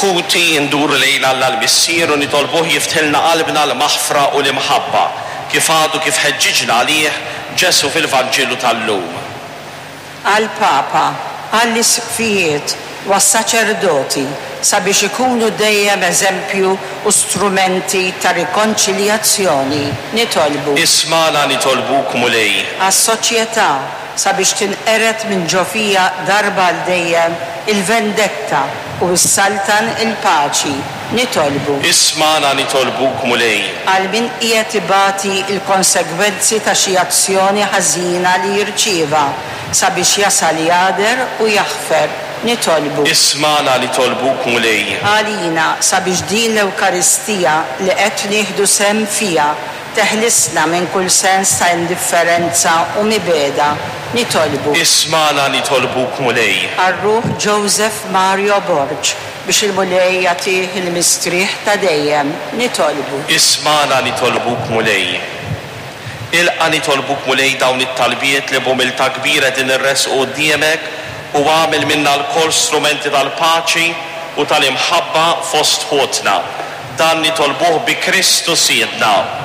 Ħuti, nduru lejn Alla l-Missier u nitolbuh jiftħilna qalbna għall-maħfra u l-imħabba, kif għadu kif ħeġġiġna għalih Ġesù fil-Vanġelu tal-lum. Għall-Papa, għall-Isqfijiet u għas-saċerdoti sabiex ikunu dejjem eżempju u strumenti ta' rikonċiljazzjoni, nitolbu. Ismagħna nitolbuk, Mulej. Għas-soċjetà, sabiex tinqered minn ġo fiha darba għal dejjem il-vendetta u ssaltan il-paċi, nitolbu. Ismagħna nitolbuk, Mulej. Għal min qiegħed ibati l-konsegwenzi ta' xi azzjoni ħażina li rċieva, sabiex jasal jagħder u jaħfer, nitolbu. Ismagħna nitolbuk, Mulej. Għalina, sabiex din l-Ewkaristija li qed nieħdu sehem fiha teħlisna minn kull sens ta' indifferenza u mibegħda, nitolbu. Ismagħna nitolbuk, Mulej. Għal ruħ Joseph Mario Borg, biex il-Mulej jagħtih il-mistrieħ ta' dejjem, nitolbu. Ismagħna nitolbuk, Mulej. Ilqa' nitolbuk, Mulej, dawn it-talbiet li b'umiltà kbira qegħdin inressqu quddiemek u agħmel minna lkoll strumenti tal-paċi u tal-imħabba fost ħutna. Dan nitolbuh bi Kristu Sidna.